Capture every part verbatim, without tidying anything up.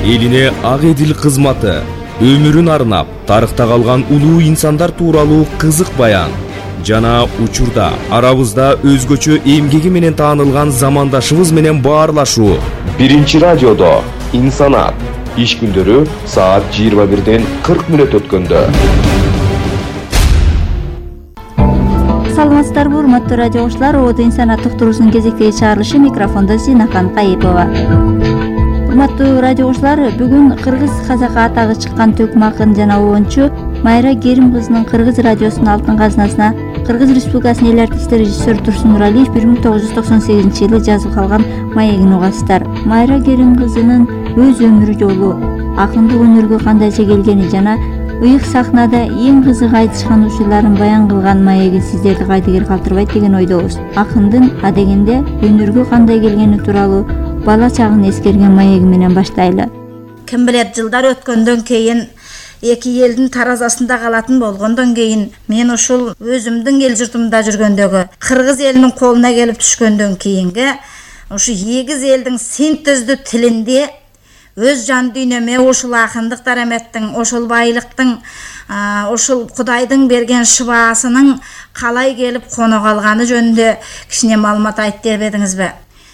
элине ак эдил кызматы, өмүрүн арнап тарыхта калган улуу инсандар тууралуу кызык баян жана учурда арабызда өзгөчө эмгеги менен таанылган замандашыбыз менен баарлашуу. Биринчи радиодо инсанат иш күндөрү саат жыйырма бирден кырк мүнөт өткөндө. Саламатсыздарбы, урматтуу радио окуучулар, Оодо инсанат уктуруусунун кезектеги чыгарылышы, микрофондо Зинахан Кайыпова. Урматтуу радио окуучулар, бүгүн кыргыз казакы атагы чыккан төкмө акын жана оончу Майра Керим кызынын кыргыз радиосунун алтын казынасына Кыргыз Республикасынын эл артисти режиссер Турсун Нуралиев бир миң тогуз жүз токсон сегизинчи жылы жазып калган маегин угасыздар. Майра Керим кызынын өз өмүр жолу, акындык өнөргө кандайча келгени жана ыйык сахнада эң кызык айтышкан учурларын баян кылган маеги сиздерди кайдыгер калтырбайт деген ойдобуз. Акындын адегенде өнөргө кандай келгени тууралуу бала чагын эскерген маеги менен баштайлы. Ким билет, жылдар өткөндөн кийин, эки элдин таразасында калатын болгондон кийин, мен ушул өзүмдүн эл журтумда жүргөндөгү кыргыз элинин колуна келип түшкөндөн кийинги ушу эгиз элдин синтездүү тилинде өз жан дүйнөмө ушул акындык дараметтин, ошол байлыктын, ошол Кудайдын берген шыбаасынын калай келип коно калганы жөнүндө кичине маалымат айтып бербедиңизби?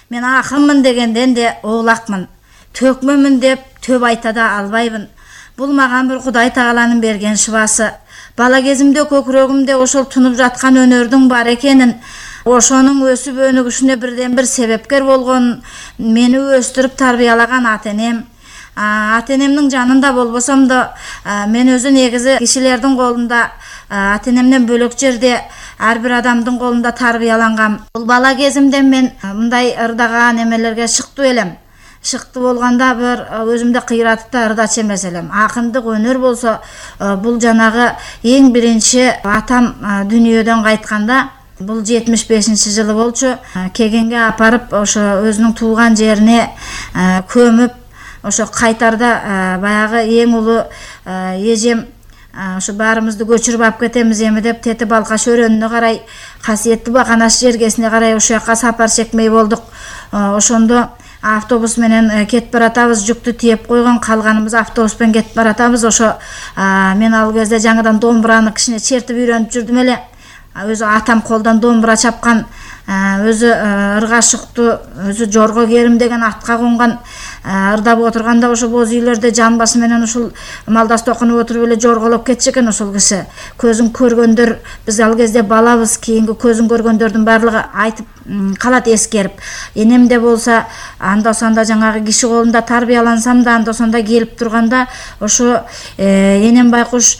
Мен акынмын дегенден де оолакмын. Төкмөмүн деп төп айта да албайбын. Бул мага бир Кудай Тааланын берген шыбасы. Бала кезимде көкүрөгүмдө ошол тунуп жаткан өнөрдүн бар экенин, ошонун өсүп өнүгүшүнө бирден бир себепкер болгон, мени өстүрүп тарбиялаган ата-энем. Ата-энемдин жанында болбосом да, мен өзү негизи кишилердин колунда, ата-энемден бөлөк жерде ар бир адамдын колунда тарбиялангам. Бул бала кезимден мен мындай ырдаган эмелерге шыктуу элем. Шыктуу болгондо бир өзүмдү кыйратып да ырдачу эмес элем. Акындык өнөр болсо, бул жанагы эң биринчи атам дүйнөдөн кайтканда, бул жетимиш бешинчи жылы болчу, кегенге апарып, ошо өзүнүн туулган жерине көмүп, ошо кайтарда баягы эң улуу эжем ошо баарыбызды көчүрүп алып кетемиз эми деп Тети Балкаш өрөөнүнө карай, Касиеттүү Баканаш жергесине карай ошол жака сапар чекмей болдук. Ошондо автобус менен кетип баратабыз, жүктү тиеп койгон, калганыбыз автобуспен кетип баратабыз. Ошо мен ал кезде жаңыдан домбураны кичине чертип үйрөнүп жүрдүм эле. Өзү атам колдон домбура чапкан, өзү ыргашыктуу, өзү Жорго Керим деген атка конган, ырдап отурганда ошо боз үйлөрдө жамбасы менен ушул малдасты окунуп отуруп эле жорголоп кетчү экен ошол киши. Көзүн көргөндөр, биз ал кезде балабыз, кийинки көзүн көргөндөрдүн баардыгы айтып калат эскерип. Энемде болсо анда сонда жаңагы киши колунда тарбиялансам да, анда сонда келип турганда ошо энем байкуш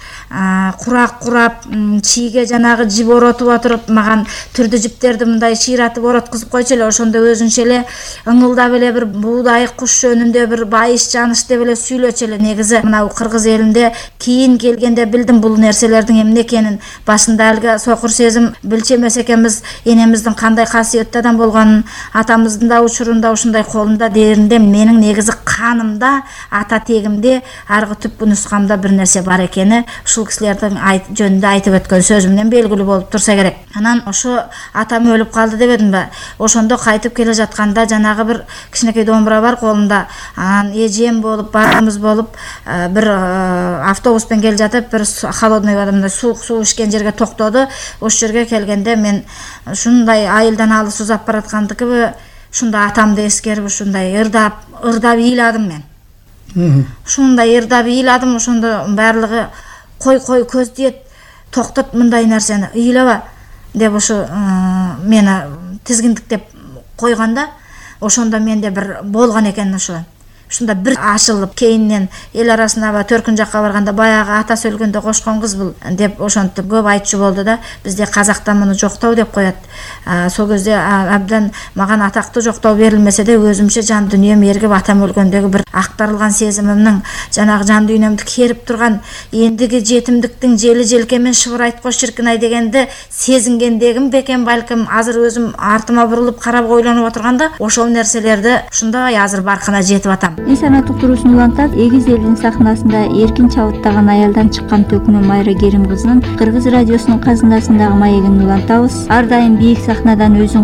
курак курап, чийге жанагы жип оротуп отуруп, маган түрдүү жиптерди мындай чыйратып ороткузуп койчу эле. Ошондо өзүнчө эле ыңылдап эле бир буудай куш жөнүндө бир байыш жаныш деп эле сүйлөчү эле. Негизи мына кыргыз элинде кийин келгенде билдим бул нерселердин эмне экенин. Башында элге сокур сезим билчү эмес экенбиз, энемиздин кандай касиеттүү адам болгонун, атамыздын да учурунда ушундай колунда дээринде менин негизи канымда, ата тегимде, аргы түпкү нускамда бир нерсе бар экени ушул кишилердин жөнүндө айтып өткөн сөзүмдөн белгилүү болуп турса керек. Анан ошо атам өлүп калды дебедимби? Ошондо кайтып келе жатканда жанагы бир кичинекей домбура бар колунда. Анан эжем болуп, баарыбыз болуп бир автобуспен келе жатып, бир холодный водомда суук суу ичкен жерге токтоду. Ошол жерге келгенде мен ушундай айылдан алыс узап бараткандыкыбы, ушунда атамды эскерип ушундай ырдап, ырдап ыйладым мен. Ушундай ырдап ыйладым, ошондо баардыгы кой кой көз тиет, токтот мындай нерсени, ыйлаба деп ошо мени тизгиндиктеп койгондо, ошондо менде бир болгон экен ошо. Ушунда бир ашылып, кейинен эл арасына төркүн жакка барганда баягы атасы өлгөндө кошкон кыз бул деп ошентип көп айтчу болду да. Бизде казакта муну жоктоо деп коет. Сол кезде абдан маган атактуу жоктоо берилмесе де өзүмчө жан дүйнөм эргип атам өлгөндөгү бир актарылган сезимимдин жанагы жан дүйнөмдү керип турган эндиги жетимдиктин жели желкемен шыбырайт кош ширкинай дегенди сезингендегим бекен балким. Азыр өзүм артыма бурулуп карап ойлонуп отурганда ошол нерселерди ушундай азыр баркына жетип атам. Инсанат уктуруусун улантат, эгиз элдин сахнасында эркин чабыттаган аялдан чыккан төкмө Майра Керим кызынын Кыргыз радиосунун казынасындагы маегин улантабыз. Ар дайым бийик сахнадан өзүн